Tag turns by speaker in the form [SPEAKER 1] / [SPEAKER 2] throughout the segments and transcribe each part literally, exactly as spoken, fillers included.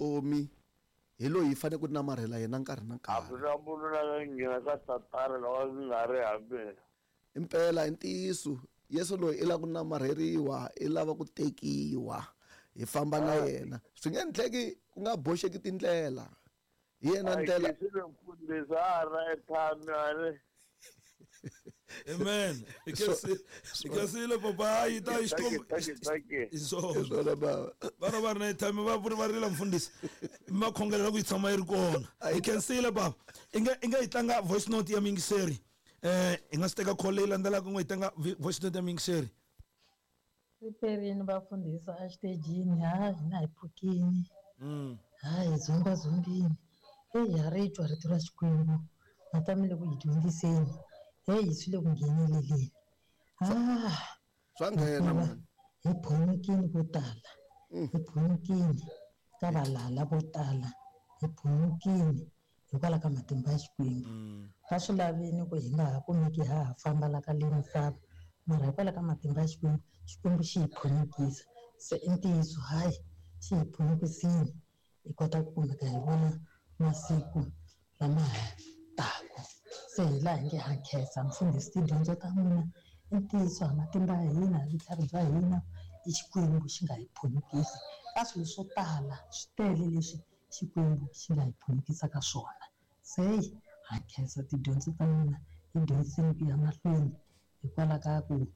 [SPEAKER 1] vutomi hi loyi hi fanele ku namarhela yena nkarhi na nkarhi.
[SPEAKER 2] A ku na munhu la nga nghena ka Satana loko a nga ri ha mina.
[SPEAKER 1] Impela i ntiyiso Yesu loyi i lava ku namarheriwa, i lava ku tekiwa, hi famba na yena. Swi nge endleki ku nga boxeki tindlela. Hi yena ndlela.
[SPEAKER 2] A hi mfundhisi a ri airtime a ri.
[SPEAKER 3] Amen. Ikesile papa yi ta xikombo.
[SPEAKER 1] Isona baba.
[SPEAKER 3] Vana va ri na airtime va vuri va rila mfundhisi. Makhongelela ku yi tshama yi ri kona. Ikesile baba. Inga inga yi tlanga voice note ya mingiseri. Eh i nga swi teka call leyi landzelaka n'we yi tlanga voice note ya mingiseri.
[SPEAKER 4] Riperini vafundhisi a xitejini ha hina hi pfukini.
[SPEAKER 3] Mm.
[SPEAKER 4] Ha hi dzumba dzumbini. Hey ha ri twa rito ra Xikwembu. Natamile ku hi dyondziseni. Hey swi le ku ngheneleleni. Ah.
[SPEAKER 1] Swa nghena mani.
[SPEAKER 4] Hi phunyukini vo tala. Hi phunyukini ka valala vo tala. Hi phunyukini hikwalaho ka matimba ya Xikwembu. Va swi lavini ku hi nga ha kumeki ha ha famba la ka le misava. Mara hikwalaho ka matimba ya Xikwembu, Xikwembu xi hi phunyukisa. Se i ntiyiso hayi xi hi phunyukisini hi kota ku kumeka hi vona masiku lama ha taka. Se hi laha hi nge ha khensa mfundhisi tidyondzo ta n'wina i ntiyiso ha matimba ya hina hi vutlhari bya hina i Xikwembu xi nga hi phunyukisa ka swilo swo tala swi tele leswi Xikwembu xi nga hi phunyukisa ka swona. Se ha khensa tidyondzo ta n'wina hi dyondziseni ku ya mahlweni hikwalaho ka ku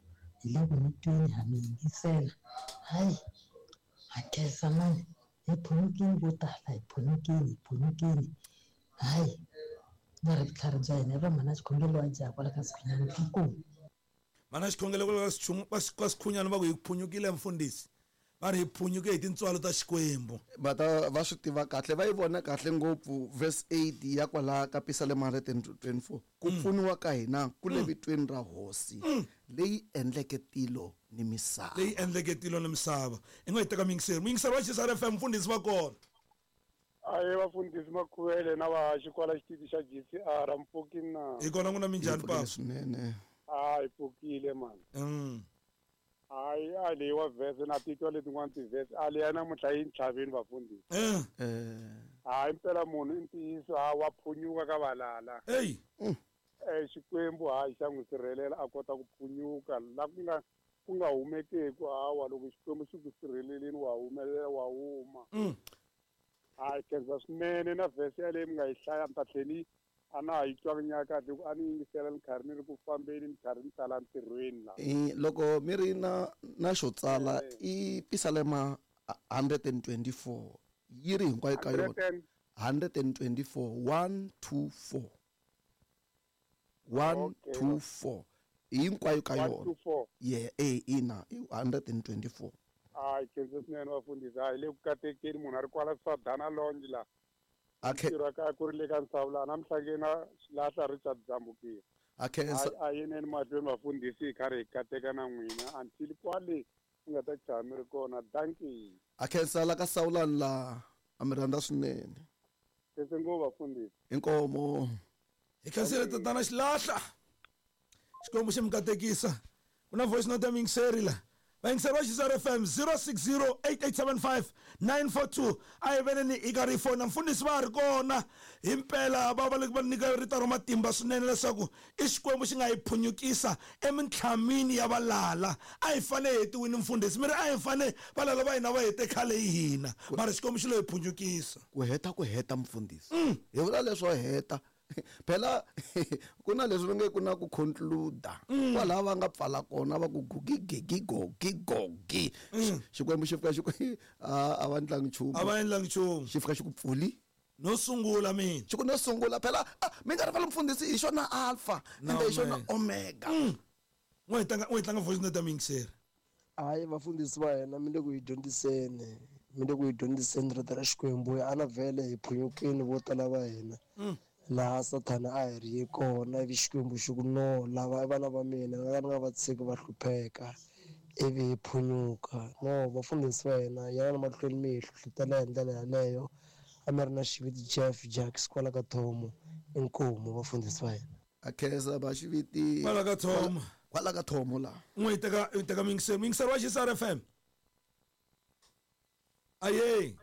[SPEAKER 4] hi le ku mi tweni ha mi yingisela. Hayi ha khensa mani hi phunyukini vo tala hi phunyukini hi phunyukini hayi nga ri vutlhari bya hina va mhana xikhongelo wa jaha kwala ka Sikhunyani inkomu.
[SPEAKER 3] Mhana xikhongelo kwala ka Sikhunyani va ku hi phunyukile mfundhisi. Va ri hi phunyuke hi tintswalo ta Xikwembu.
[SPEAKER 1] Va ta va swi tiva kahle va yi vona kahle ngopfu verse eight ya kwala ka Pisalema one hundred twenty-four. Ku pfuniwa ka hina ku le vitweni ra Hosi leyi endleke tilo ni misava.
[SPEAKER 3] Leyi endleke tilo ni misava. I nga yi teka mingiseri. Mingiseri wa X R F M mfundhisi va kona.
[SPEAKER 5] Aye vafundhisi Makhuvele na vahaxi kwala xitichi xa G C R mpfukini na.
[SPEAKER 3] Hi kona n'wina minjhani papa?
[SPEAKER 1] Swinene.
[SPEAKER 5] A hi pfukile mani.
[SPEAKER 3] Mm.
[SPEAKER 5] Hayi a leyi wa verse na titwa letin'wana ti-verse a leyi ya namuntlha yi ntlhaveni vafundhisi.
[SPEAKER 3] Eh.
[SPEAKER 5] Hayi impela munhu i ntiyiso ha wa phunyuka ka valala.
[SPEAKER 3] Ey.
[SPEAKER 5] Eh Xikwembu hayi xa n'wi sirhelela a kota ku phunyuka la ku nga ku nga humekeku hawa loko Xikwembu xi ku sirheleleni wa humelela wa huma.
[SPEAKER 3] Mm.
[SPEAKER 5] Hayi khensa swinene na verse yaleyi mi nga yi hlaya mi ta tlhela a na ha yi twangi nyaka kahle ku a ni yingisela ni karhi ni ri ku fambeni ni karhi ni tala ntirhweni la.
[SPEAKER 1] Eh loko mi ri na na xo tsala i Pisalema one hundred twenty-four yi ri hinkwayo ka yona one hundred twenty-four one two four one two four hinkwayo ka yona. Yeah eh ina i one hundred twenty-four.
[SPEAKER 5] Hayi khensa swinene vafundhisi hayi le ku katekeni munhu a ri kwala Sadana Lounge la. Ntirho ka ku ri le ka Nsawulana namuntlha na Xilahla Richard Dzambukile.
[SPEAKER 1] A khensa
[SPEAKER 5] a yeneni mahlweni vafundhisi hi karhi hi kateka na n'wina until kwale mi nga ta chama mi ri kona. Dankie.
[SPEAKER 1] A khensa la ka Sawulani la a mi rhandza swinene.
[SPEAKER 5] Khensa ngopfu vafundhisi.
[SPEAKER 1] Inkomo.
[SPEAKER 3] Hi khensile tatana Xilahla. Xikwembu xi mi katekisa. Ku na voice note ya mingiseri la. Vayingiseri va X R F M zero six zero eight eight seven five nine four two a hi veneni hi karhi hi fona mfundhisi va ha ri kona himpela va va va nyika rito ra matimba swinene leswaku i Xikwembu xi nga hi phunyukisa emintlhamini ya valala. A hi fane hi hetiwini mfundhisi mi ri a hi fane valala va hina va hete khale hi hina mara Xikwembu xi lo hi phunyukisa.
[SPEAKER 1] Ku heta ku heta mfundhisi hi vula leswo heta phela ku na leswi va nge ku na ku conclude kwalaha va nga pfala kona va ku gigigigogigogi Xikwembu xi fika xi ku a va endlangi nchumu
[SPEAKER 3] a va endlangi nchumu
[SPEAKER 1] xi fika xi ku pfuli
[SPEAKER 3] no sungula mina
[SPEAKER 1] xi ku no sungula phela mi nga rivali mfundhisi hi xona alpha ende hi xona omega.
[SPEAKER 3] N'we hi tlanga n'we hi tlanga voice note ya mingiseri.
[SPEAKER 6] Hayi vafundhisi va hina mi le ku hi dyondziseni mi le ku hi dyondziseni rito ra Xikwembu a na vhele hi phunyukeni vo tala va hina laha Sathana a hi ri kona ivi Xikwembu xi ku no lava i vana va mina nga ka ni nga va tshiki va hlupheka ivi hi phunyuka. No vafundhisi va hina yana mahlweni mi hi hlohlotela hi ndlela yaleyo a mi ri na xiviti Jeff Jacks kwala ka Thomo inkomu vafundhisi va hina.
[SPEAKER 1] A khensa va xiviti
[SPEAKER 3] kwala ka Thomo
[SPEAKER 1] kwala ka Thomo la.
[SPEAKER 3] N'we hi teka hi teka mingiseri mingiseri wa X R F M. Aye.